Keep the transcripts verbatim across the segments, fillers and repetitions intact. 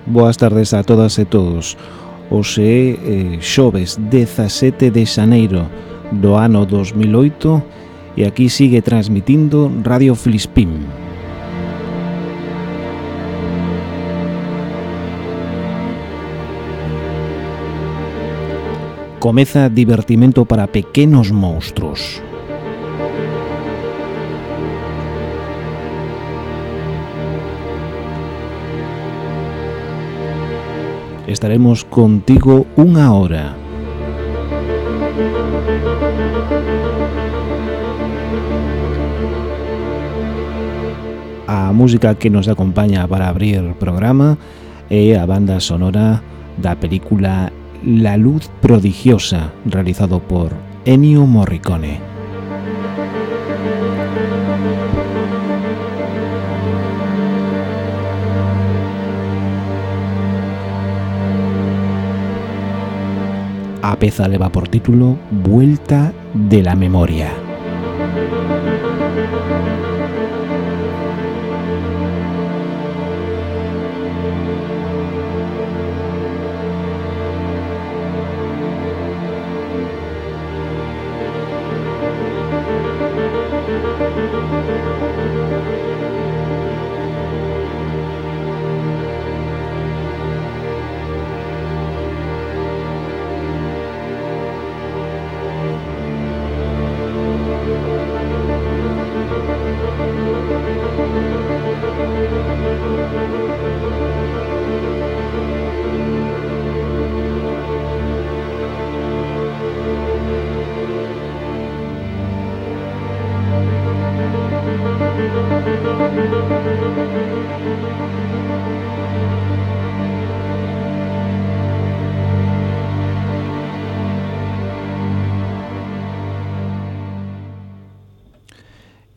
Boas tardes a todas e todos. Hoxe é eh, xoves dezasete de xaneiro do ano dos mil oito e aquí sigue transmitindo Radio Filispín. Comeza divertimento para pequenos monstruos. Estaremos contigo unha hora. A música que nos acompaña para abrir o programa é a banda sonora da película La luz prodigiosa, realizado por Ennio Morricone. A peza leva por título Vuelta de la memoria.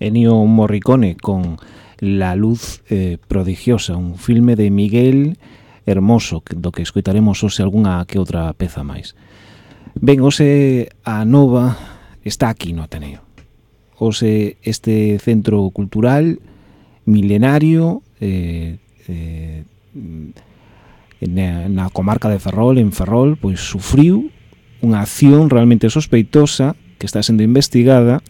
Ennio Morricone con La luz eh, prodigiosa, un filme de Miguel Hermoso, do que escoitaremos hoxe algunha que outra peza máis. Ben, hoxe a Nova está aquí no Ateneo. Hoxe este centro cultural milenario eh, eh, na, na comarca de Ferrol, en Ferrol, pois sufriu unha acción realmente sospeitosa que está sendo investigada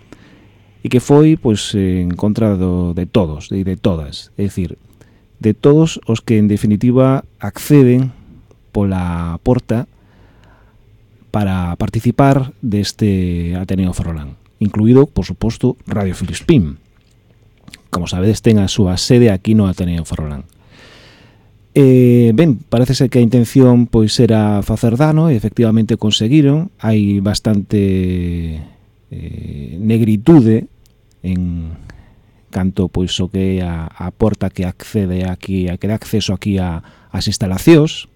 e que foi pois en contra do, de todos e de, de todas, é dicir, de todos os que en definitiva acceden pola porta para participar deste Ateneo Ferrolán, incluído, por suposto, Radio Filispín. Como sabedes, ten a súa sede aquí no Ateneo Ferrolán. Eh, ben, parece ser que a intención pois era facer dano e efectivamente conseguiron. Hai bastante eh, negritude en canto pois o que é a, a porta que accede aquí, a que dá acceso aquí a, as instalacións,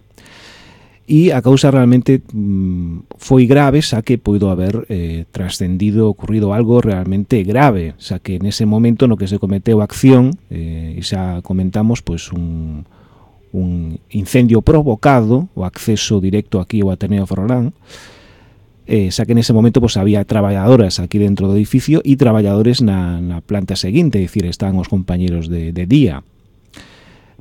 e a causa realmente mm, foi grave, xa que poido haber eh, trascendido, ocurrido algo realmente grave, xa que nese momento no que se cometeu a acción, eh, e xa comentamos pois un, un incendio provocado, o acceso directo aquí ao Ateneo Ferrolán, Eh, xa que nese momento pues, había traballadoras aquí dentro do edificio e traballadores na, na planta seguinte, é dicir, estaban os compañeros de, de día.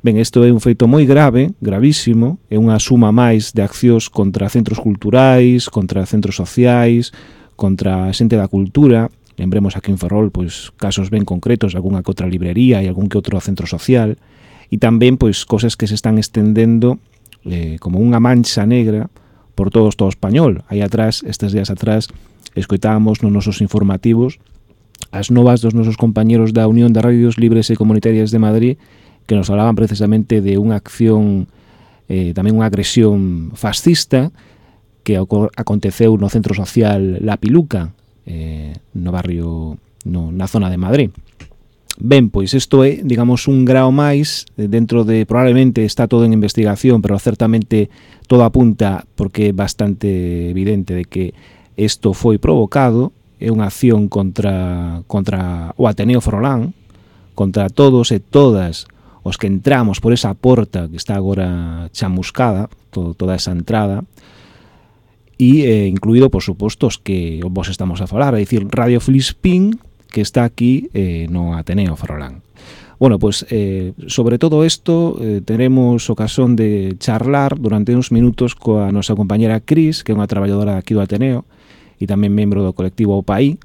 Ben, isto é un feito moi grave, gravísimo, é unha suma máis de accións contra centros culturais, contra centros sociais, contra a xente da cultura. Lembremos aquí en Ferrol pois, casos ben concretos, algunha que outra librería e algún que outro centro social, e tamén pois, cosas que se están estendendo eh, como unha mancha negra por todo o Estado español. Aí atrás, estes días atrás, escoitábamos nos nosos informativos as novas dos nosos compañeros da Unión de Radios Libres e Comunitarias de Madrid, que nos falaban precisamente de unha acción, eh, tamén unha agresión fascista que aconteceu no centro social La Piluca, eh, no barrio, no, na zona de Madrid. Ben, pois isto é, digamos, un grao máis dentro de, probablemente está todo en investigación, pero certamente todo apunta, porque é bastante evidente de que isto foi provocado, é unha acción contra, contra o Ateneo Ferrolán, contra todos e todas os que entramos por esa porta que está agora chamuscada, todo, toda esa entrada, e eh, incluído, por suposto, os que vos estamos a falar, é dicir, Radio Filispín, que está aquí eh, no Ateneo Ferrolán. Bueno, pues eh, sobre todo isto eh, teremos ocasión de charlar durante uns minutos coa nosa compañera Cris, que é unha traballadora aquí do Ateneo e tamén membro do colectivo O Paí,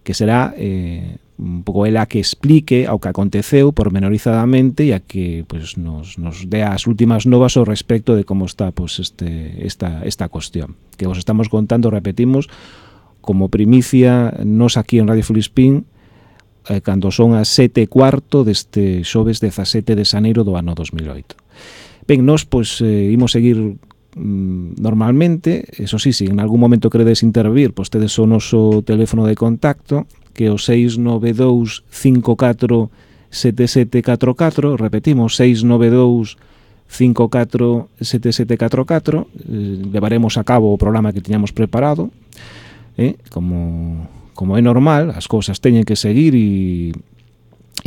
que será eh, un pouco ela que explique ao que aconteceu pormenorizadamente e a que pues, nos, nos dé as últimas novas ao respecto de como está pues, este, esta, esta cuestión. Que vos estamos contando, repetimos, como primicia nos aquí en Radio Filispín, eh, cando son as sete e cuarto deste xoves dezasete de xaneiro do ano dos mil oito. Ben, nos, pois, eh, imos seguir mm, normalmente, eso sí, se en algún momento queredes intervir, pois tedes o noso teléfono de contacto, que é o seis nove dous cinco catro sete sete catro catro, repetimos, seis nove dous cinco catro sete sete catro catro, eh, levaremos a cabo o programa que tiñamos preparado, eh, como... como é normal, as cousas teñen que seguir e,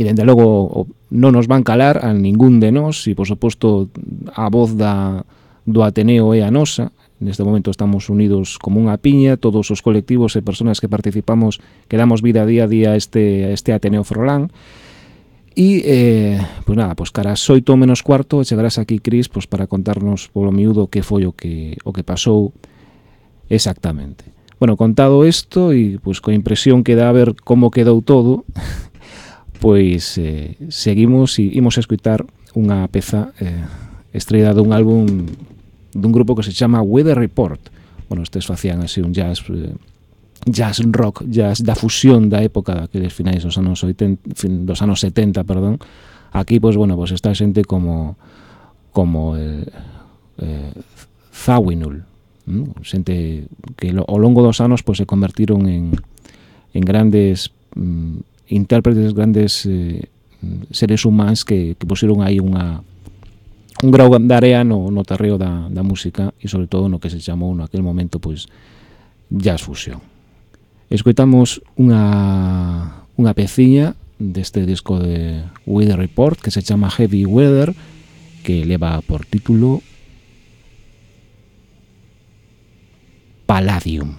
e dende logo non nos van calar a ningún de nós e, por suposto, a voz da, do Ateneo é a nosa. Neste momento estamos unidos como unha piña, todos os colectivos e persoas que participamos que damos vida día a día a este, a este Ateneo Frolán. E, eh, pois nada, pois cara as oito menos cuarto chegarás aquí, Cris, pois para contarnos polo miúdo que foi o que, o que pasou exactamente. Bueno, contado isto e pois coa impresión que dá a ver como quedou todo, pois eh, seguimos e imos a escutar unha peza eh, estrellada dun álbum dun grupo que se chama Weather Report. Bueno, estes facían así un jazz eh, jazz rock, jazz da fusión da época daqueles finais dos anos oitenta, dos anos setenta, perdón. Aquí, pois bueno, pois está xente como como el eh, Zawinul, xente que ao longo dos anos pois, se convertiron en, en grandes mm, intérpretes, grandes eh, seres humanos que, que puseron aí unha, un grau de area no, no terreo da, da música e sobre todo no que se chamou naquele momento pois, jazz fusión. Escoitamos unha, unha peciña deste disco de Weather Report que se chama Heavy Weather, que leva por título Palladium.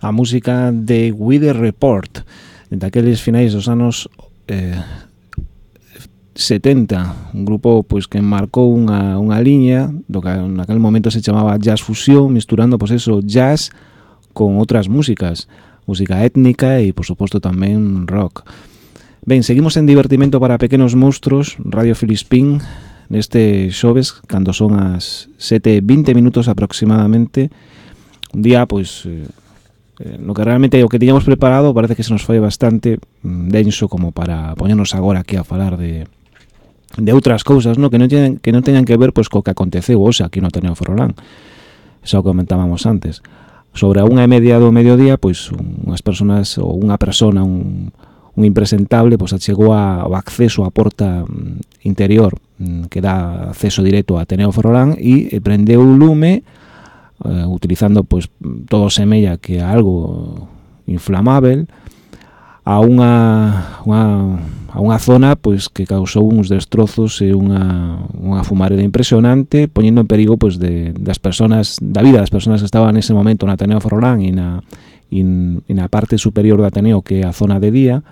a música de Weather Report, daqueles finais dos anos eh, setenta, un grupo pois que marcou unha, unha liña do que naquele momento se chamaba jazz fusión, misturando pois eso, jazz con outras músicas, música étnica e por suposto tamén rock. Ben, seguimos en divertimento para pequenos monstruos, Radio Filispín, neste xoves, cando son as sete e vinte minutos aproximadamente, un día, pois, eh, no que realmente o que tiñamos preparado parece que se nos foi bastante denso como para poñernos agora aquí a falar de de outras cousas, no? que non teñan que non teñan que ver pois co que aconteceu hoxe aquí no Ateneo Ferrolán. Eso comentábamos antes. Sobre a unha e media do mediodía, pois unhas persoas ou unha persona, un un impresentable, pois achegou ao acceso á porta interior que dá acceso directo a Ateneo Ferrolán e prendeu o lume uh, utilizando pois todo semella que algo inflamável a unha, unha a unha zona pois que causou uns destrozos e unha unha fumareda impresionante, poñendo en perigo pois de das persoas, da vida das persoas que estaban nese momento na Ateneo Ferrolán e na e na parte superior do Ateneo, que é a zona de día.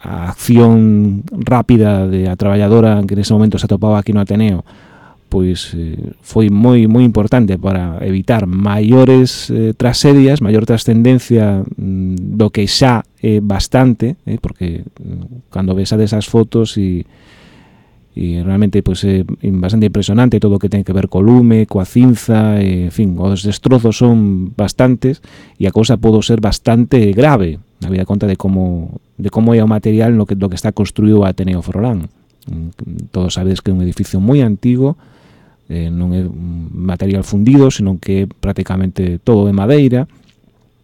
A acción rápida de a traballadora que nese momento se atopaba aquí no Ateneo pois eh, foi moi moi importante para evitar maiores eh, tragedias, maior trascendencia mm, do que xa é bastante, eh, porque mm, cando ves a desas fotos e e realmente pois é bastante impresionante todo o que ten que ver co lume, coa cinza, e, en fin, os destrozos son bastantes e a cousa pode ser bastante grave, na vida conta de como de como é o material no que do que está construído o Ateneo Ferrolán. Todos sabedes que é un edificio moi antigo, eh, non é material fundido, senón que é prácticamente todo de madeira,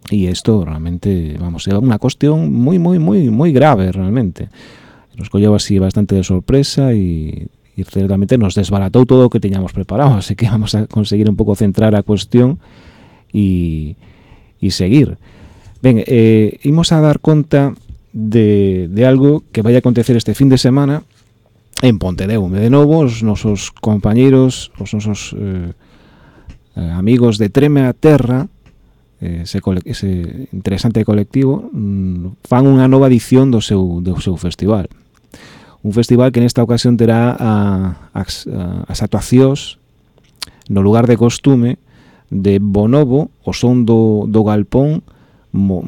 e isto realmente, vamos, é unha cuestión moi moi moi moi grave realmente. Nos colleu así bastante de sorpresa e, e certamente nos desbaratou todo o que teñamos preparado, así que vamos a conseguir un pouco centrar a cuestión e, e seguir. Ben, eh, imos a dar conta de, de algo que vai a acontecer este fin de semana en Pontedeume. De novo, os nosos compañeiros, os nosos eh, amigos de Treme a Terra, ese, ese interesante colectivo, fan unha nova edición do seu, do seu festival. Un festival que nesta ocasión terá a, as, a, as actuacións no lugar de costume de Bonobo, o son do, do Galpón, Mo,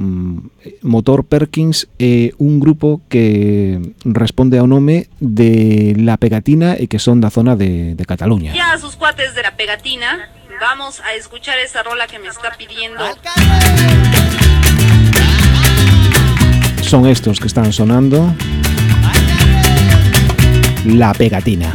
Motor Perkins e un grupo que responde ao nome de La Pegatina e que son da zona de, de Cataluña. Ya a sus cuates de La Pegatina, vamos a escuchar esa rola que me está pidiendo. Son estos que están sonando. La Pegatina.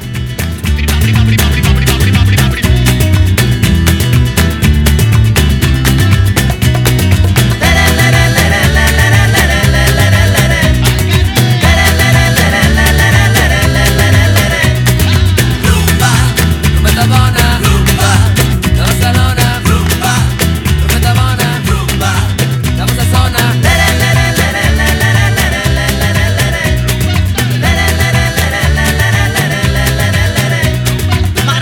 My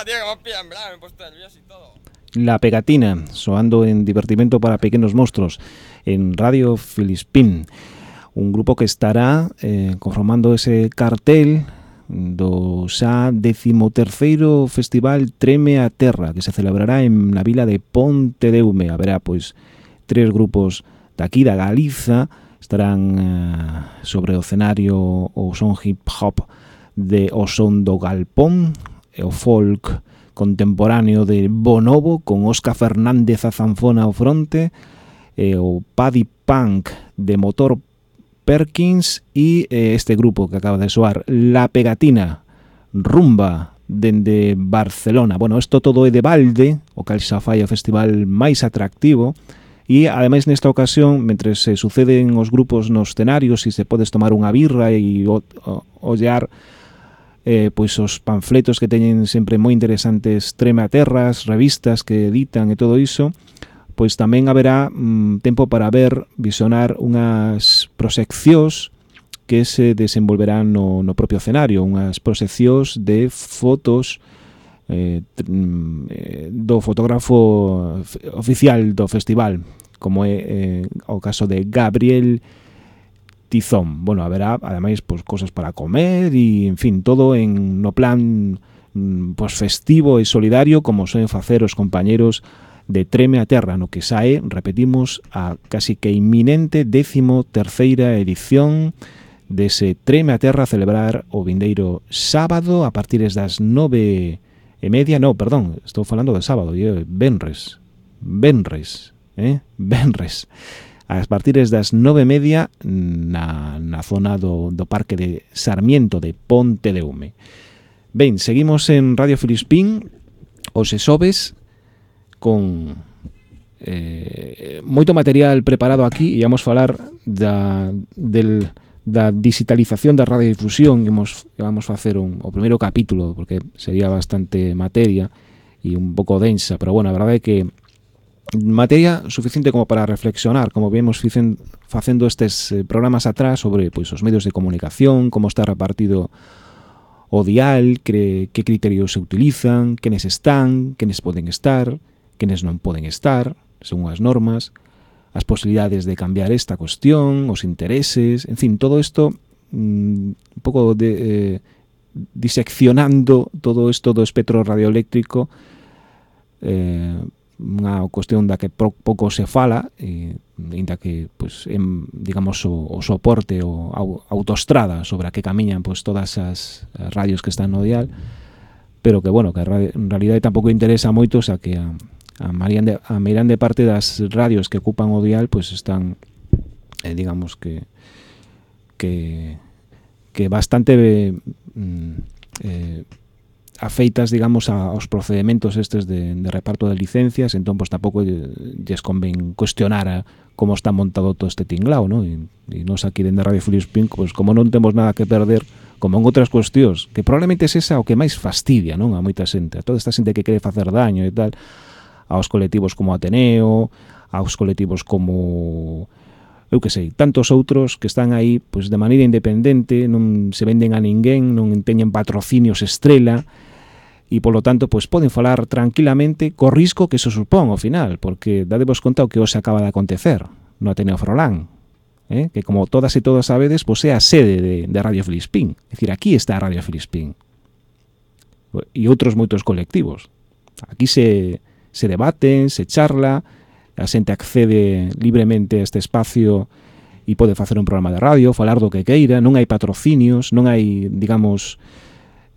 tío, que me pillan, ¿verdad? Me he puesto nervioso y todo. La Pegatina, soando en Divertimento para Pequenos Monstruos, en Radio Filispín. Un grupo que estará eh, conformando ese cartel do xa decimoterceiro Festival Treme a Terra, que se celebrará en na vila de Pontedeume. Haberá, pois, tres grupos daqui da Galiza, estarán eh, sobre o escenario o son hip-hop de O Son do Galpón, e o folk contemporáneo de Bonobo, con Óscar Fernández a zanfona ao fronte, e o Paddy Punk de Motor Perkins e este grupo que acaba de soar, La Pegatina, rumba dende Barcelona. Bueno, isto todo é de balde, o cal xa fai o festival máis atractivo, e ademais nesta ocasión, mentre se suceden os grupos nos escenarios e se podes tomar unha birra e o, o, ollar eh, pois os panfletos que teñen sempre moi interesantes trematerras, revistas que editan e todo iso, pois tamén haberá mm, tempo para ver, visionar unhas proxeccións que se desenvolverán no, no propio escenario, unhas proxeccións de fotos eh, do fotógrafo oficial do festival, como é eh, o caso de Gabriel Tizón. Bueno, haberá, ademais, pois, cosas para comer e, en fin, todo en no plan mm, pois, festivo e solidario, como soen facer os compañeros de Treme a Terra, no que sae, repetimos, a casi que inminente décimo terceira edición dese Treme a Terra a celebrar o vindeiro sábado a partir das nove e media, no, perdón, estou falando de sábado, e venres, venres, eh, venres, a partir das nove e media na, na zona do, do Parque de Sarmiento de Pontedeume. Ben, seguimos en Radio Filispín, os exobes, con eh, moito material preparado aquí, e vamos falar da, del, da digitalización da radiodifusión. Vamos, vamos facer un, o primeiro capítulo, porque sería bastante materia e un pouco densa, pero bueno, a verdade é que materia suficiente como para reflexionar, como vemos facendo estes programas atrás sobre pois, os medios de comunicación, como está repartido o dial, que, que criterios se utilizan, quenes están, quenes poden estar, quenes non poden estar, según as normas, as posibilidades de cambiar esta cuestión, os intereses, en fin, todo isto mmm, un pouco de, eh, diseccionando todo isto do espectro radioeléctrico, eh, unha cuestión da que pouco se fala, e, ainda que, pues, en, digamos, o, o soporte, o a autoestrada sobre a que camiñan pues, todas as radios que están no dial, pero que, bueno, que en realidade tampouco interesa moito, o sea, que a A Mariande, a meirande parte das radios que ocupan o dial pois pues están eh, digamos que que que bastante eh, eh, afeitas, digamos, a, aos procedementos estes de, de reparto de licencias, entón pois pues, tampouco lles convén cuestionar a como está montado todo este tinglao, ¿no? E, e nos aquí dende Radio Filispín, pois pues, como non temos nada que perder, como en outras cuestións, que probablemente é esa o que máis fastidia, non, a moita xente, a toda esta xente que quere facer daño e tal, aos colectivos como Ateneo, aos colectivos como, eu que sei, tantos outros que están aí pois, de maneira independente, non se venden a ninguén, non teñen patrocinios estrela, e polo tanto pois, poden falar tranquilamente co risco que eso supón ao final, porque dadevos conta o que hoxe acaba de acontecer no Ateneo Frolán, eh? Que como todas e todos sabedes, pois, é a sede de, de Radio Filispín, é dicir, aquí está Radio Filispín e outros moitos colectivos. Aquí se se debaten, se charla, a xente accede libremente a este espacio e pode facer un programa de radio, falar do que queira, non hai patrocinios, non hai, digamos,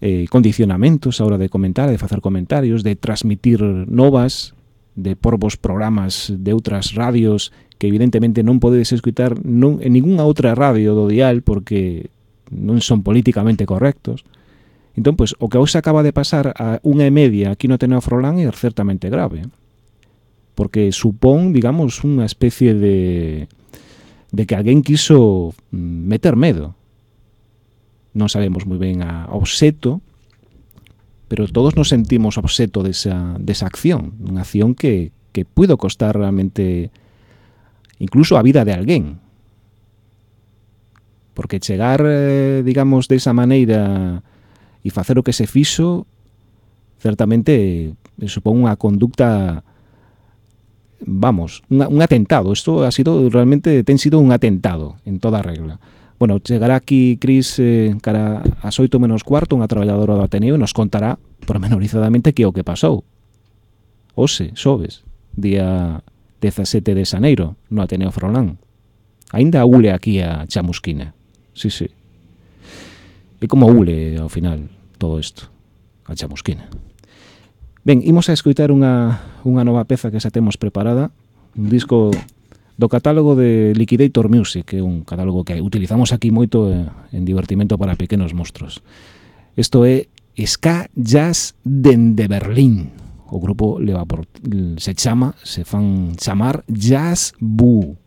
eh, condicionamentos a hora de comentar, de facer comentarios, de transmitir novas, de por vos programas de outras radios que evidentemente non podedes escutar non, en ninguna outra radio do dial porque non son políticamente correctos. Entón, pois, o que hoxe acaba de pasar a unha e media aquí no Ateneo Frolán é certamente grave, porque supón, digamos, unha especie de de que alguén quiso meter medo. Non sabemos moi ben a obxeto, pero todos nos sentimos obxeto desa, desa acción, unha acción que, que puido costar realmente incluso a vida de alguén. Porque chegar, eh, digamos, desa maneira e facer o que se fixo certamente eh, supón unha conducta, vamos, unha, un atentado. Isto ha sido realmente, ten sido un atentado en toda regla. Bueno, chegará aquí Cris eh, cara ás oito menos cuarto, unha traballadora do Ateneo, e nos contará pormenorizadamente que é o que pasou. Ose, xoves, día dezasete de xaneiro, no Ateneo Froilán. Ainda ule aquí a chamusquina. Sí, sí. E como ule, ao final, todo isto, a chamusquina. Ben, imos a escoitar unha, unha nova peza que xa temos preparada, un disco do catálogo de Liquidator Music, que é un catálogo que utilizamos aquí moito en divertimento para pequenos monstruos. Isto é Ska Jazz dende Berlín. O grupo leva por, se chama, se fan chamar Jazz Boo.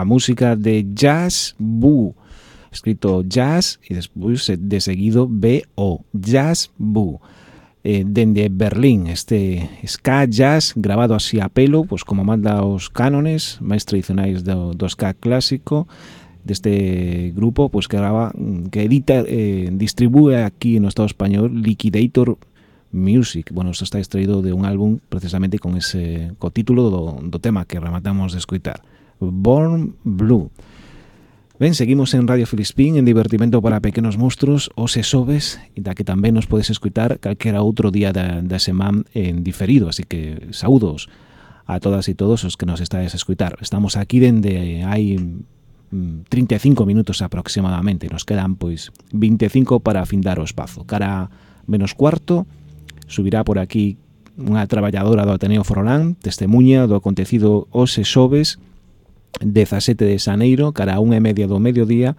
a música de Jazz Bu, escrito Jazz e despois de seguido B O, Jazz Bu. Eh, dende Berlín, este ska jazz grabado así a pelo, pues como manda os cánones máis tradicionais do, do ska clásico deste grupo, pues que graba, que edita, eh, distribúe aquí no Estado español Liquidator Music. Bueno, isto está extraído de un álbum precisamente con ese co título do, do tema que rematamos de escoitar, Born Blue. Ben, seguimos en Radio Filispín, en divertimento para pequenos monstruos, os e sobes, e da que tamén nos podes escutar calquera outro día da, da semana en diferido, así que saúdos a todas e todos os que nos estáis a escutar. Estamos aquí dende hai trinta e cinco minutos aproximadamente, nos quedan pois vinte e cinco para afindar o espazo. Cara menos cuarto, subirá por aquí unha traballadora do Ateneo Forlán, testemunha do acontecido os e sobes, dezasete de xaneiro, cara a unha e media do mediodía,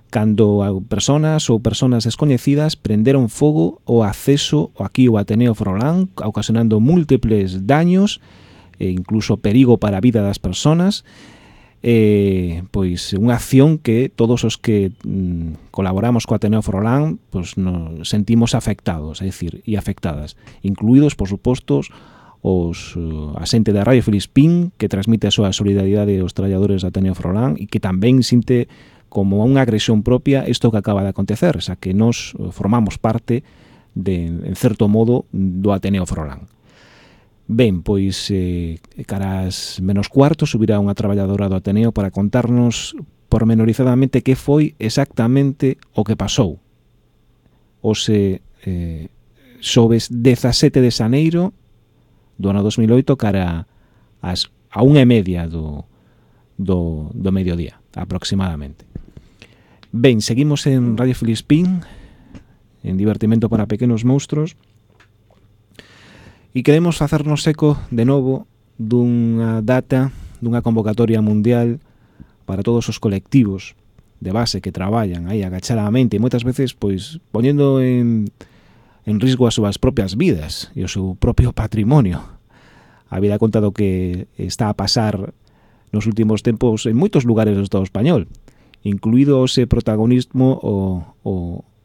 cando personas ou personas descoñecidas prenderon fogo o acceso aquí ao Ateneo Forlán, ocasionando múltiples daños e incluso perigo para a vida das personas. Eh, pois unha acción que todos os que mm, colaboramos co Ateneo Forlán pois nos sentimos afectados, é dicir, e afectadas, incluídos, por suposto, os uh, a xente da Radio Filispín, que transmite a súa solidaridade aos traballadores da Ateneo Forlán e que tamén sinte como unha agresión propia isto que acaba de acontecer, xa que nos formamos parte de, en certo modo, do Ateneo Forlán. Ben, pois eh, caras menos cuarto subirá unha traballadora do Ateneo para contarnos pormenorizadamente que foi exactamente o que pasou os eh, xoves dezasete de xaneiro do ano dos mil oito, cara as, a unha e media do, do, do mediodía, aproximadamente. Ben, seguimos en Radio Filispín, en divertimento para pequenos monstruos, e queremos facernos eco de novo dunha data, dunha convocatoria mundial para todos os colectivos de base que traballan aí agachadamente, e moitas veces pois poñendo en en risgo as súas propias vidas e o seu propio patrimonio. A vida conta do que está a pasar nos últimos tempos en moitos lugares do Estado español, incluído o ese protagonismo o, o,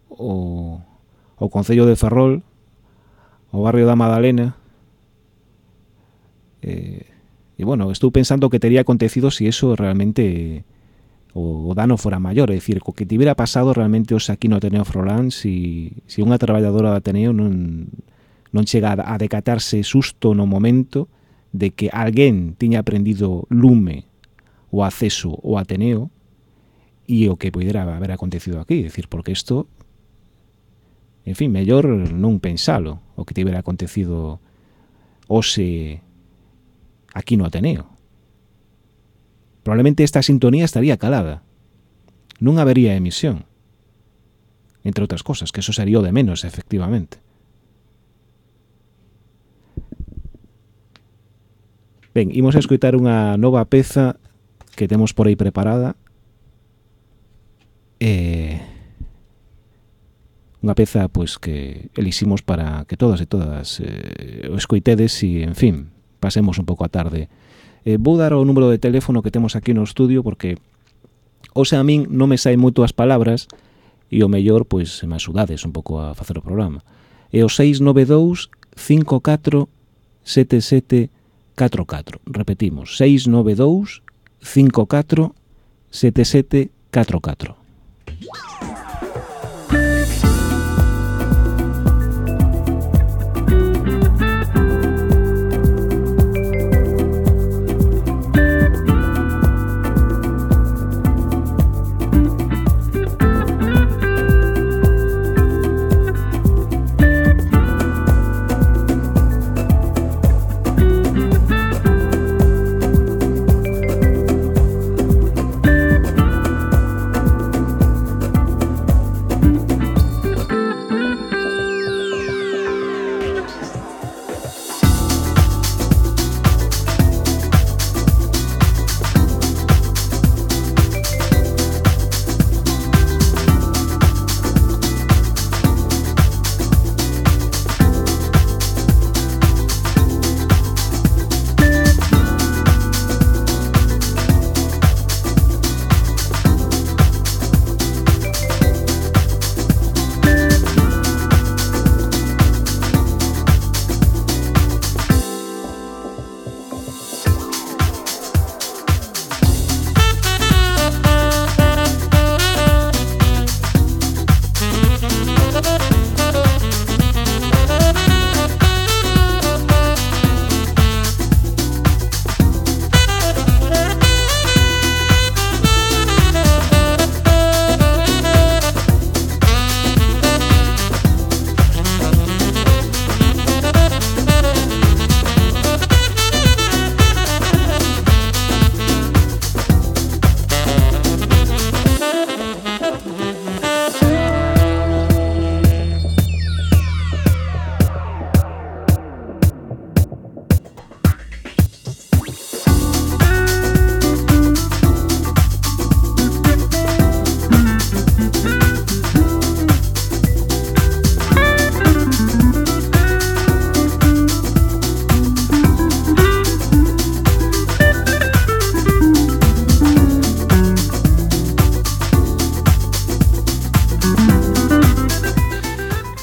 o, o Concello de Ferrol, o barrio da Madalena. Eh, e, bueno, estou pensando que tería acontecido se si eso realmente o, o dano fora maior, é dicir, co que tivera pasado realmente os aquí no Ateneo Forlán, si, si unha traballadora do Ateneo non, non chega a, a decatarse susto no momento de que alguén tiña prendido lume o acceso ao Ateneo e o que pudera haber acontecido aquí, é dicir, porque isto, en fin, mellor non pensalo o que tivera acontecido hoxe aquí no Ateneo. Probablemente esta sintonía estaría calada. Non habería emisión. Entre outras cosas, que eso sería o de menos, efectivamente. Ben, imos a escoitar unha nova peza que temos por aí preparada. Eh, unha peza pois que eliximos para que todas e todas eh, o escoitedes e, en fin, pasemos un pouco a tarde. Eh, vou dar o número de teléfono que temos aquí no estudio porque hoxe a min non me saen moito as palabras e o mellor, pois, me axudades un pouco a facer o programa. É o seis nove dous cinco catro sete sete catro catro. Repetimos, seis nove dous cinco catro sete sete catro catro.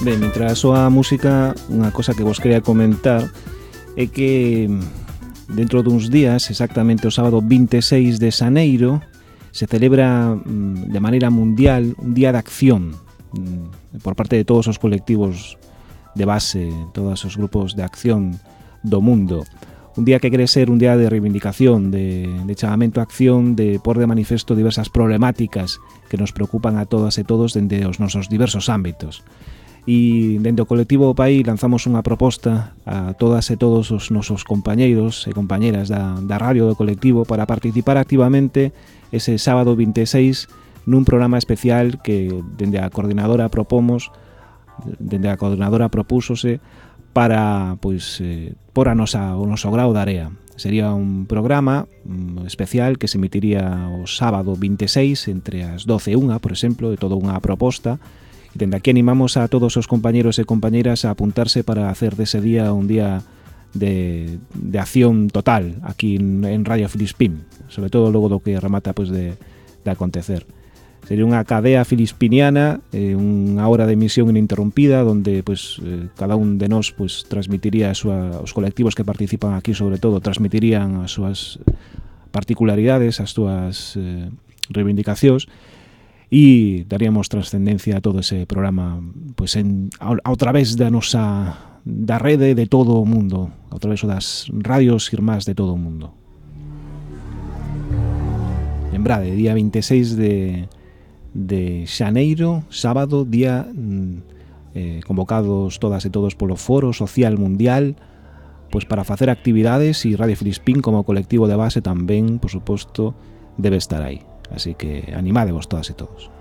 Ben, mientras soa a música, unha cosa que vos quería comentar é que dentro duns días, exactamente o sábado vinte e seis de xaneiro, se celebra de maneira mundial un día de acción por parte de todos os colectivos de base, todos os grupos de acción do mundo. Un día que quere ser un día de reivindicación, de, de chamamento a acción, de pôr de manifesto diversas problemáticas que nos preocupan a todas e todos dende os nosos diversos ámbitos. E dende o colectivo Pai lanzamos unha proposta a todas e todos os nosos compañeiros e compañeras da, da radio do colectivo para participar activamente ese sábado vinte e seis nun programa especial que dende a coordinadora propomos, dende a coordinadora propúsose para pois eh, por a nosa, o noso grao de area. Sería un programa um, especial que se emitiría o sábado vinte e seis entre as doce e unha, por exemplo, de toda unha proposta. E dende aquí animamos a todos os compañeros e compañeras a apuntarse para hacer dese día un día de, de acción total aquí en, en Radio Filispín, sobre todo logo do que remata pues, de, de acontecer. Sería unha cadea filispiniana, eh, unha hora de emisión ininterrumpida onde pues, eh, cada un de nós pues, transmitiría a súa, os colectivos que participan aquí sobre todo transmitirían as súas particularidades, as súas eh, reivindicacións e daríamos trascendencia a todo ese programa pues, en, a, a través da nosa da rede de todo o mundo, a través das radios irmás de todo o mundo. Lembrade, día vinte e seis de, de xaneiro, sábado, día eh, convocados todas e todos polo Foro Social Mundial pues, para facer actividades e Radio Filispín como colectivo de base tamén, por suposto, debe estar aí. Así que animádevos todas e todos.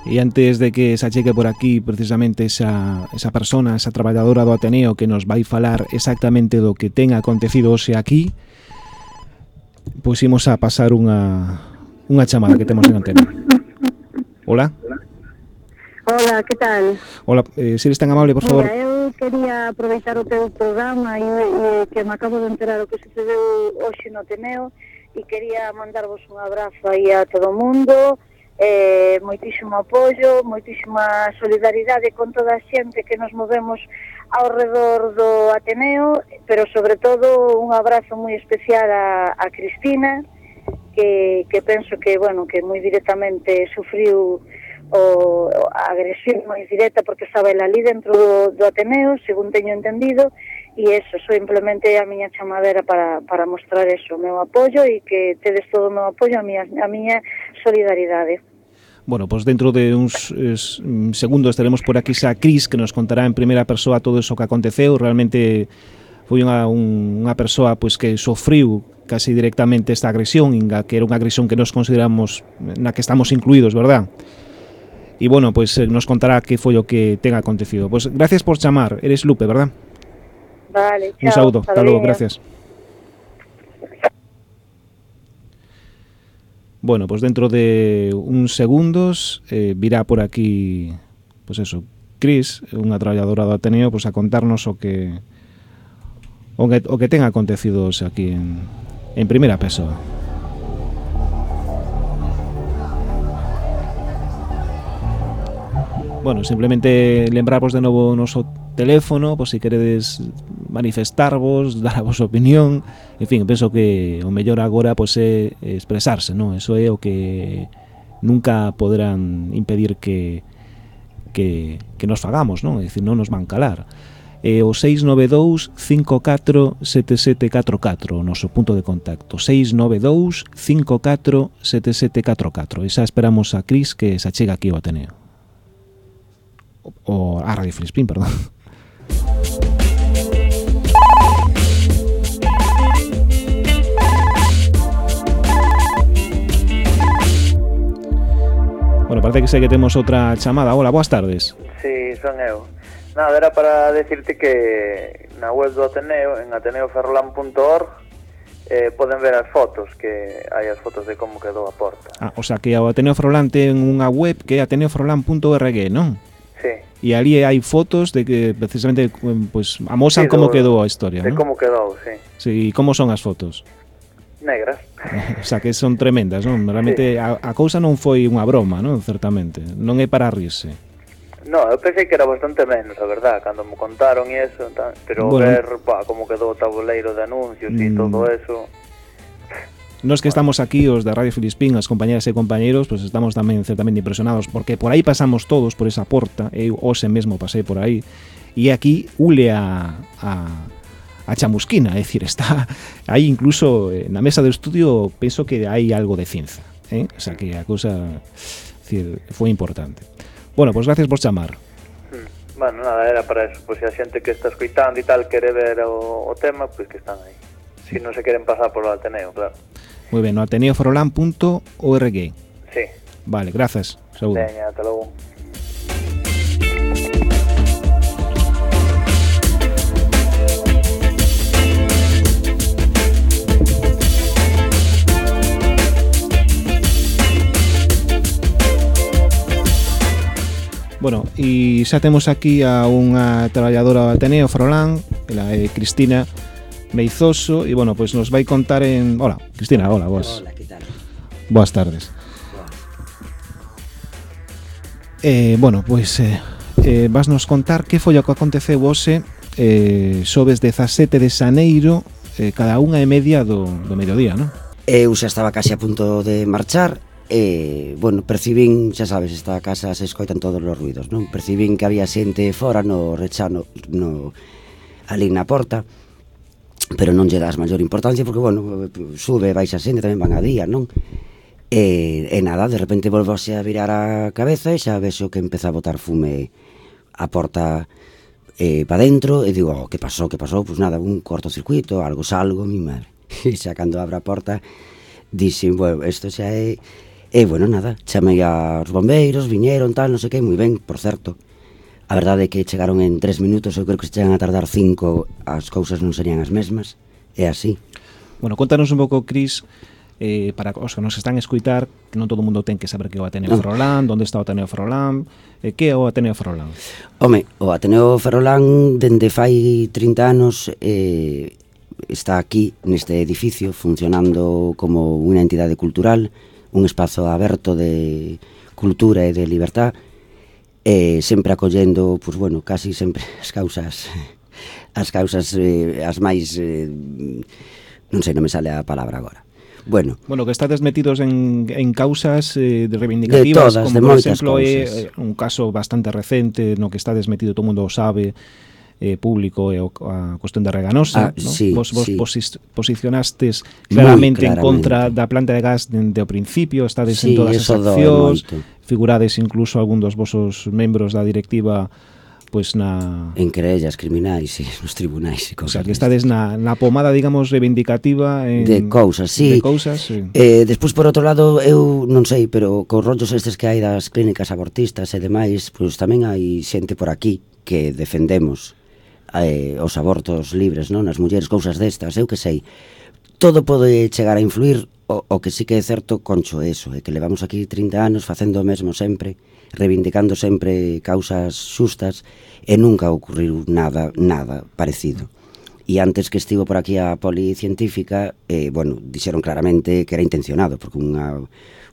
E antes de que se achegue por aquí precisamente esa, esa persona, esa traballadora do Ateneo que nos vai falar exactamente do que ten acontecido hoxe aquí, pois imos a pasar unha, unha chamada que temos en antena. Hola. Hola, que tal? Hola, eh, se eres tan amable, por favor. Mira, eu quería aproveitar o teu programa e, e que me acabo de enterar o que sucedeu hoxe no Ateneo e quería mandarvos un abrazo aí a todo o mundo. Eh, moitísimo apoio, moitísima solidaridade con toda a xente que nos movemos ao redor do Ateneo, pero sobre todo un abrazo moi especial a, a Cristina, que, que penso que, bueno, que moi directamente sufriu o, a agresión moi directa porque estaba ela ali dentro do, do Ateneo, según teño entendido, e eso, simplemente a miña chamadera para, para mostrar eso, o meu apoio e que tedes todo o meu apoio, a miña, a miña solidaridade. Bueno, pois pues dentro de uns es, segundos estaremos por aquí xa Cris, que nos contará en primeira persoa todo eso que aconteceu. Realmente foi unha, un, unha persoa pois, que sofriu casi directamente esta agresión, que era unha agresión que nos consideramos, na que estamos incluídos, verdad? E bueno, pois pues, nos contará que foi o que ten acontecido. Pois pues, gracias por chamar, eres Lupe, verdad? Vale, chao. Un saúdo, hasta logo, gracias. Bueno, pues dentro de uns segundos eh, virá por aquí, pues eso, Cris, unha traballadora do Ateneo, pues a contarnos o que o que, o que ten acontecido aquí en, en primeira persoa. Bueno, simplemente lembrarvos de novo o noso teléfono, pois se queredes manifestarvos, dar a vosa opinión, en fin, penso que o mellor agora pois é expresarse, non? Eso é o que nunca poderán impedir que que, que nos fagamos, non? É dicir, non nos van calar. E o seis nove dous cinco catro sete sete catro catro, o noso punto de contacto, seis nove dous cinco catro sete sete catro catro. E xa esperamos a Cris que se achega aquí ao Ateneo. O a Radio Filispín, perdón. Bueno, parece que sei que temos outra chamada. Hola, boas tardes. Sí, son eu. Nada, era para decirte que na web do Ateneo, en ateneo ferrolán punto org, eh, poden ver as fotos, que hai as fotos de como quedou a porta. Ah, o sea, que o Ateneo Frolán ten unha web que é ateneo frolán punto org, non? Sí. E ali hai fotos de que precisamente pues, amosan Sí, como do, quedou a historia, de non? como quedou, sí. Sí, e como son as fotos? Negras. O sea, que son tremendas, non? Realmente Sí. a, a cousa non foi unha broma, non? Certamente. Non é para rirse. No, eu pensei que era bastante menos, a verdad, cando me contaron e eso, tal, pero Bueno, ver, pa, como quedou o tabuleiro de anuncios e mm, todo eso. Nos que estamos aquí, os da Radio Filispín, as compañeras e compañeros, pues estamos tamén certamente impresionados, porque por aí pasamos todos, por esa porta, eu hoxe mesmo pasei por aí, e aquí ule a, a, a chamusquina, é dicir, está aí incluso eh, na mesa do estudio, penso que hai algo de cinza, eh? O sea, que a cousa, decir, foi importante. Bueno, pues gracias por chamar. Hmm. Bueno, nada, era para eso, pois pues, se a xente que está escoitando e tal quere ver o, o tema, pois pues que están aí. Si non se queren pasar por o Ateneo, claro. Moi ben, no ateneo frolán punto org. Sí. Vale, gracias. Saúde. Veña, ata logo. Bueno, e xa temos aquí a unha traballadora do Ateneo Frolán, ela é Cristina Meizoso, e bueno, pois pues nos vai contar en... Hola, Cristina, hola, boas. Hola, que tal? Boas tardes. Boas. Eh, bueno, pois pues, eh, eh, vas nos contar que foi o que aconteceu hoxe eh, xoves dezasete de xaneiro, eh, cada unha e media do, do mediodía, non? Eu xa estaba case a punto de marchar e, bueno, percibín, xa sabes, esta casa se escoitan todos os ruidos, non? Percibín que había xente fora no rechano, no, ali na porta, pero non lle das maior importancia porque, bueno, sube, baixa xente, tamén van a día, non? E, e nada, de repente volvose a virar a cabeza e xa vexo que empeza a botar fume a porta eh, pa dentro e digo, oh, que pasou, que pasou? Pois nada, un cortocircuito, algo, salgo, mi madre. E xa cando abra a porta dixen, bueno, isto xa é... E, bueno, nada, chamei aos bombeiros, viñeron, tal, non sei que, moi ben, por certo. A verdade é que chegaron en tres minutos, eu creo que se chegan a tardar cinco, as cousas non serían as mesmas, é así. Bueno, contanos un pouco, Cris, eh, para os que nos están a escuitar, que non todo o mundo ten que saber que é o Ateneo no. Frolán, onde está o Ateneo Frolán, eh, que é o Ateneo Frolán? Home, o Ateneo Frolán, dende fai trinta anos, eh, está aquí, neste edificio, funcionando como unha entidade cultural, un espazo aberto de cultura e de libertad, e sempre acollendo, pois bueno, casi sempre as causas as causas eh, as máis eh, non sei, non me sale a palabra agora. Bueno, bueno, que estades metidos en, en causas eh, reivindicativas, de todas, como de por moitas exemplo é cousas. eh, un caso bastante recente no que estades metido, todo o mundo o sabe, eh, público, e o, a cuestión de Reganosa, Ah, ¿no? sí, vos, vos sí. posis, posicionastes claramente, claramente en contra da planta de gas dende o principio, estades Sí, en todas as eso doe accións, moito. figurades incluso algún dos vosos membros da directiva pois na... En querellas criminais e nos tribunais e O cousas. sea, que estades na, na pomada, digamos, reivindicativa en, de cousas, sí. de cousas, sí. Eh, despois, por outro lado, eu non sei, pero cos rollos estes que hai das clínicas abortistas e demais, pois tamén hai xente por aquí que defendemos eh, os abortos libres, non? As mulleres, cousas destas, eu que sei. Todo pode chegar a influir, o, o que sí que é certo, Concho, eso, é que levamos aquí trinta anos facendo o mesmo sempre, reivindicando sempre causas xustas, e nunca ocurriu nada, nada parecido. E antes que estivo por aquí a policientífica, eh, bueno, dixeron claramente que era intencionado, porque unha,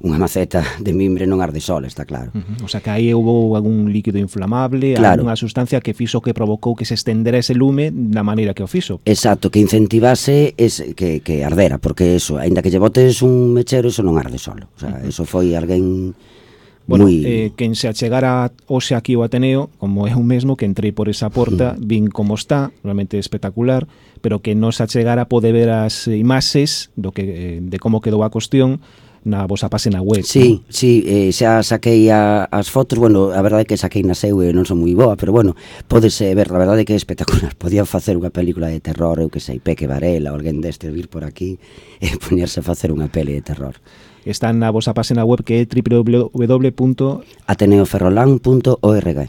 unha maceta de mimbre non arde sola, está claro. Uh-huh. O sea, que aí houve algún líquido inflamable, Claro. algunha sustancia que fixo que provocou que se estendera ese lume da maneira que o fixo. Exacto, que incentivase ese, que, que ardera, porque eso, aínda que lle botes un mechero, eso non arde solo. O sea, uh-huh. eso foi alguén Bueno, moi... eh, quen se achegara hoxe aquí ao Ateneo, como eu mesmo, que entrei por esa porta, vin como está, realmente espectacular, pero que non se achegara pode ver as imaxes do que, eh, de como quedou a cuestión na vosa página web. Sí, ¿no? sí, eh, xa saquei a, as fotos, bueno, a verdade é que saquei na seu e non son moi boa, pero bueno, podese ver, a verdade é que é espectacular. Podía facer unha película de terror, eu que sei, Peque Varela, ou alguén deste vir por aquí e poñerse a facer unha peli de terror. Está na vosa página web que é doble u doble u doble u punto ateneo ferrolán punto org.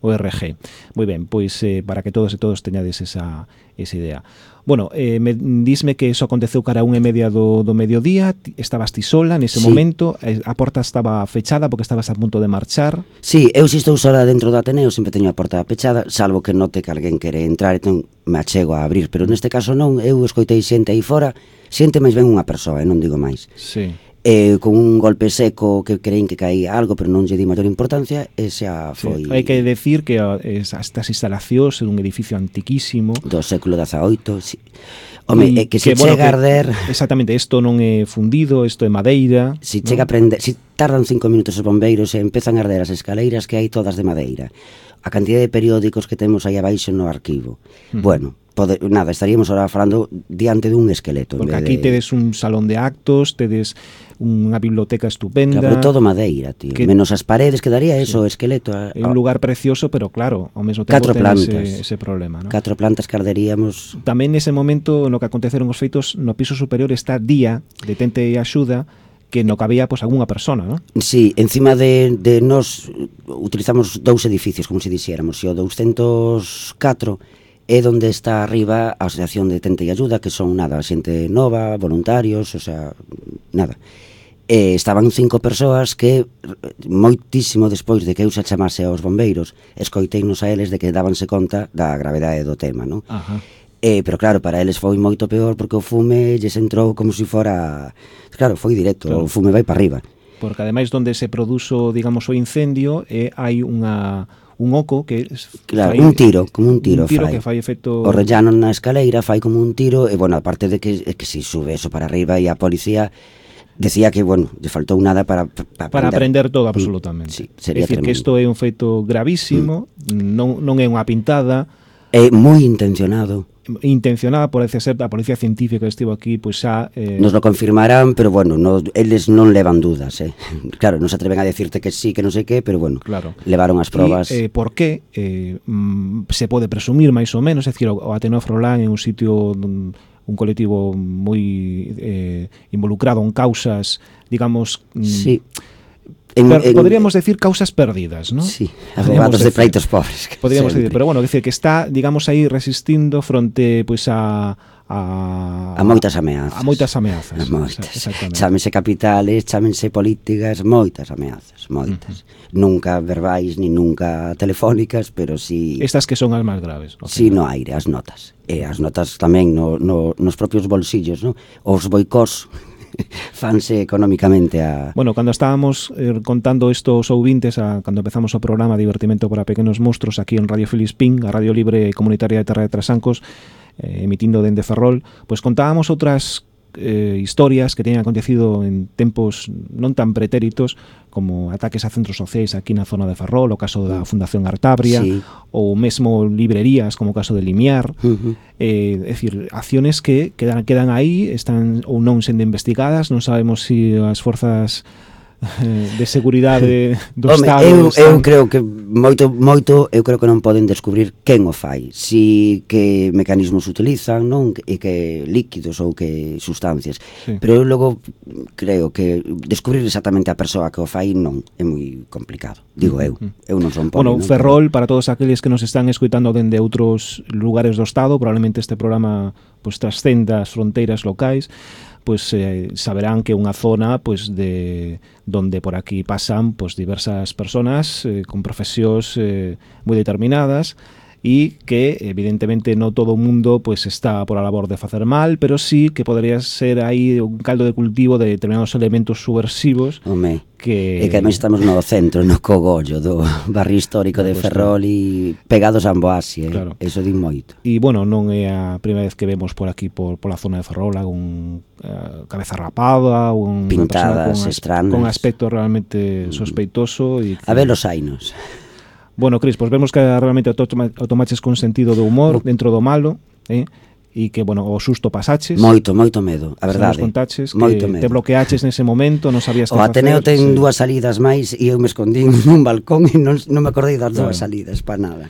o R G. Moi ben, pois eh, para que todos e todos teñades esa, esa idea. Bueno, eh, me, dísme que eso aconteceu cara a unha e media do, do mediodía, estabas ti sola nese Sí. momento, a porta estaba fechada porque estabas a punto de marchar. Sí, eu se estou sola dentro do Ateneo sempre teño a porta pechada, salvo que note que alguén quere entrar, entón me achego a abrir, pero neste caso non, eu escoitei xente aí fora, xente máis ben unha persoa, e non digo máis. Sí. Eh, con un golpe seco que creín que caía algo, pero non lle di maior importancia, e xa foi... Sí. Hai que decir que uh, estas instalacións en un edificio antiquísimo do século dezaoito, sí. Home, y é que se que, bueno, chega a arder... Exactamente, isto non é fundido, isto é madeira. Si chega a prender, si tardan cinco minutos os bombeiros e empezan a arder as escaleiras que hai todas de madeira. A cantidad de periódicos que temos aí abaixo no arquivo. Mm. Bueno, pode, nada, estaríamos ahora falando diante dun esqueleto. Porque aquí de... tedes un salón de actos, tedes unha biblioteca estupenda. Claro, pero todo madeira, tío. Que... Menos as paredes, quedaría eso, sí. O esqueleto. A... É un lugar precioso, pero claro, ao mesmo tempo ten ese, ese problema, ¿no? Catro plantas que arderíamos. Tamén nese momento, no que aconteceron os feitos, no piso superior está Día, detente e axuda, que no cabía pois algunha persona, non? Sí, encima de, de nos utilizamos dous edificios, como se dixéramos, e o doscientos catro é onde está arriba a Asociación de Tente e Ayuda, que son nada, xente nova, voluntarios, o sea, nada. E estaban cinco persoas que moitísimo despois de que eu xa chamase aos bombeiros, escoiteinos a eles de que dábanse conta da gravedade do tema, non? Ajá. Eh, pero claro, para eles foi moito peor porque o fume lles entrou como se si fora... Claro, foi directo, claro. O fume vai para arriba. Porque ademais donde se produzo, digamos, o incendio, eh, hai unha un oco que... Claro, fai, un tiro, como un tiro, un tiro fai. que fai efecto... O rellano na escaleira fai como un tiro, e, bueno, aparte de que, que si sube eso para arriba e a policía... Decía que, bueno, lle faltou nada para para, para aprender todo absolutamente. Sí, sería é dicir, tremendo. que isto é un feito gravísimo, mm. non, non é unha pintada. É moi intencionado. Intencionada, parece ser, a policía científica que estivo aquí, pois pues xa... Eh... Nos lo confirmarán, pero bueno, no, eles non levan dudas, eh. Claro, non se atreven a decirte que sí, que non sei que, pero bueno, claro. Levaron as probas. E, eh, por que eh, mm, se pode presumir máis ou menos, é dicir, o Ateneo Frolán é un sitio... un, un colectivo moi eh, involucrado en causas, digamos... Sí. En, per, en, podríamos decir causas perdidas, ¿no? Sí, abogados de pleitos pobres. Podríamos decir, pero bueno, decir que está, digamos, aí resistindo fronte pois pues, a a a moitas ameazas. A moitas ameazas. A moitas. Chámense capitales, chámense políticas, moitas ameazas, moitas. Uh-huh. Nunca verbais ni nunca telefónicas, pero si sí, estas que son as máis graves. Okay. Si sí, no aire, as notas. E as notas tamén no, no, nos propios bolsillos, ¿no? Os boicós fanse económicamente a... Bueno, cando estábamos eh, contando estos ouvintes a, cando empezamos o programa Divertimento para Pequenos Monstros aquí en Radio Filispín, a Radio Libre Comunitaria de Terra de Trasancos, eh, emitindo dende Ferrol, pois pues contábamos outras eh, historias que teñen acontecido en tempos non tan pretéritos como ataques a centros sociais aquí na zona de Ferrol, o caso da Fundación Artabria, sí. Ou mesmo librerías como o caso de Limiar, uh-huh. eh, é dicir, acciones que quedan, quedan aí, están ou non sendo investigadas, non sabemos se si as forzas de seguridade do Home, Estado. Eu, eu creo que moito moito eu creo que non poden descubrir quen o fai, si que mecanismos utilizan, non, e que líquidos ou que sustancias. Sí. Pero eu logo creo que descubrir exactamente a persoa que o fai non é moi complicado. Digo eu, eu non son poli. Bueno, non? Ferrol, para todos aqueles que nos están escoitando dende outros lugares do Estado, probablemente este programa pues trascenda as fronteiras locais, pues eh, saberán que é unha zona pues de donde por aquí pasan pues diversas personas eh, con profesións eh, moi determinadas e que evidentemente no todo o mundo pues está por a labor de facer mal, pero sí que podría ser aí un caldo de cultivo de determinados elementos subversivos. Home, que... e que ademais estamos no centro, no cogollo do barrio histórico de Ferrol e pegados a Amboasí, eh? Claro. Eso di moito. E bueno, non é a primeira vez que vemos por aquí por pola zona de Ferrol algún uh, cabeza rapada ou un pintadas con, con aspecto realmente sospeitoso e que... A ver los ainos. Bueno, Cris, pois pues vemos que realmente o tomaches con sentido de humor dentro do malo, eh? E que, bueno, o susto pasaches. Moito, moito medo, a verdade. Nos contaches moito que medo. te bloqueaches nese momento, non sabías que facer. O Ateneo ten sí. dúas salidas máis e eu me escondín nun balcón e non, non me acordei das claro. dúas salidas, para nada.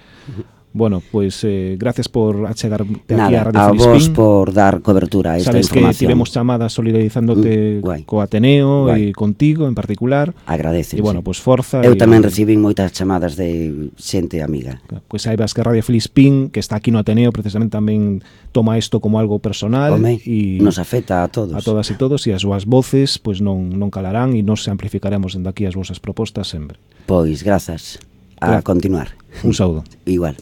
Bueno, pues eh, gracias por achegarte aquí Nada, a Radio a Filispín. vos por dar cobertura a esta Sabes información. que tivemos chamadas solidarizándote Mm, co Ateneo guai. e contigo en particular. Agradece. E bueno, pues forza. Eu e, tamén recibín moitas chamadas de xente amiga. Pues saibas que Radio Filispín, que está aquí no Ateneo, precisamente tamén toma isto como algo personal. Home, e nos afecta a todos. a todas e todos, e as súas voces pues non, non calarán e nos amplificaremos dende aquí as vosas propostas sempre. Pois, grazas. A Gra- continuar. Un saúdo. Igual.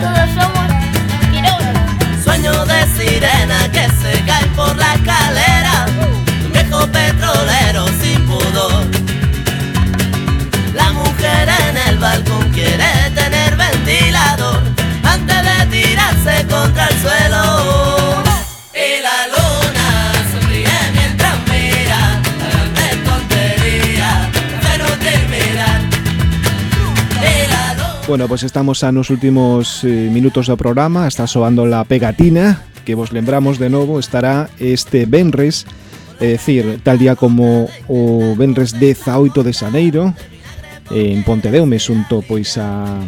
Todos somos quiróganos. Sueño de sirena que se cae por la escalera, un viejo petrolero sin pudor. La mujer en el balcón quiere tener ventilador antes de tirarse contra el suelo. Y la luna sonríe mientras mira la grande tontería de no terminar. Y la luna... Bueno, pues estamos a nos últimos eh, minutos do programa. Está soando la pegatina, que vos lembramos de novo, estará este venres, é dicir, tal día como o venres dezaoito de xaneiro, en Pontedeume, xunto pois a,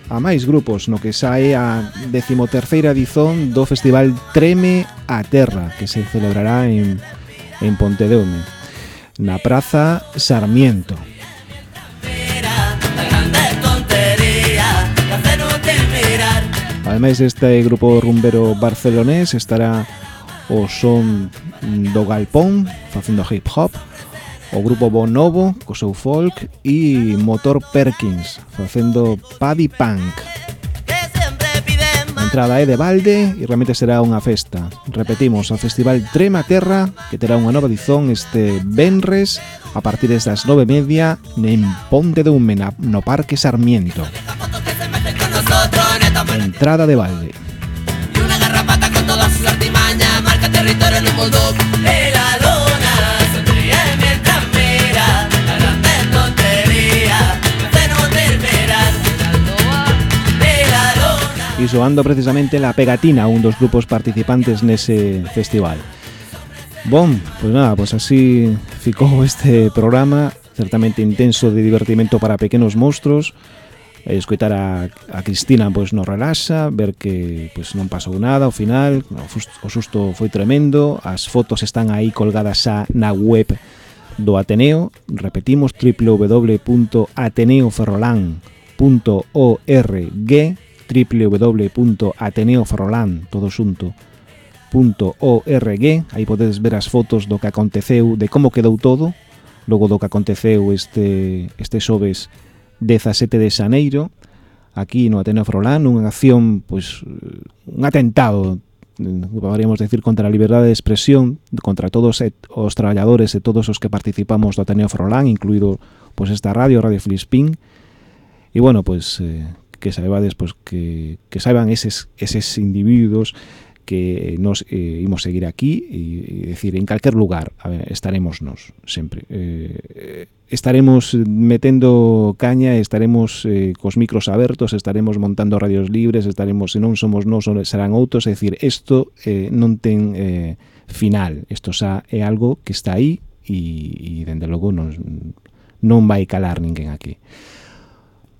a máis grupos, no que sae a decimoterceira edición do Festival Treme a Terra, que se celebrará en, en Pontedeume, na Praza Sarmiento. Ademais deste grupo rumbero barcelonés estará o son do Galpón facendo hip hop, o grupo Bonobo co seu folk e Motor Perkins facendo paddy punk. A entrada é de balde e realmente será unha festa. Repetimos, o Festival Trema Terra, que terá unha nova edición este venres a partir das nove e media en Pontedeume, no Parque Sarmiento. Entrada de balde. Y una garrapata con todas sus artimañas marca territorio en un bulldog. Y la luna sonríe mientras mira la grande tontería de no terminar. Y la luna... E soando precisamente La Pegatina, un dos grupos participantes nese festival. Bon, pues nada, pues así ficou este programa certamente intenso de divertimento para pequenos monstruos. Escoitar a, a Cristina pois nos relaxa, ver que pois non pasou nada ao final, o susto foi tremendo, as fotos están aí colgadas xa na web do Ateneo, repetimos w w w punto ateneo ferrolán punto org, w w w punto ateneo ferrolán todo xunto punto org, aí podedes ver as fotos do que aconteceu, de como quedou todo, logo do que aconteceu este este xoves dezasete de xaneiro aquí no Ateneo Ferrolán, unha acción, pois, un atentado, podríamos decir, contra a liberdade de expresión, contra todos os traballadores e todos os que participamos do Ateneo Ferrolán, incluído pois esta radio, Radio Filispín. E bueno, pois eh, que saibades, pois que que saiban eses eses individuos que nos eh, imos seguir aquí e, e decir, en calquer lugar a ver, estaremos nos sempre eh, estaremos metendo caña, estaremos eh, cos micros abertos, estaremos montando radios libres, estaremos, se non somos nós serán outros, é dicir, isto eh, non ten eh, final, isto xa é algo que está aí e, e dende logo non, non vai calar ninguén aquí.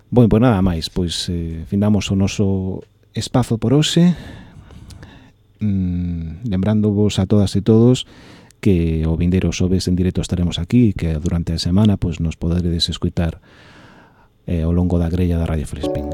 Bueno, pois nada máis, pois eh, findamos o noso espazo por hoxe. Mm, lembrándovos a todas e todos que o vindeiro xoves en directo estaremos aquí e que durante a semana pois nos poderedes escutar eh, ao longo da grella da Radio Filispín.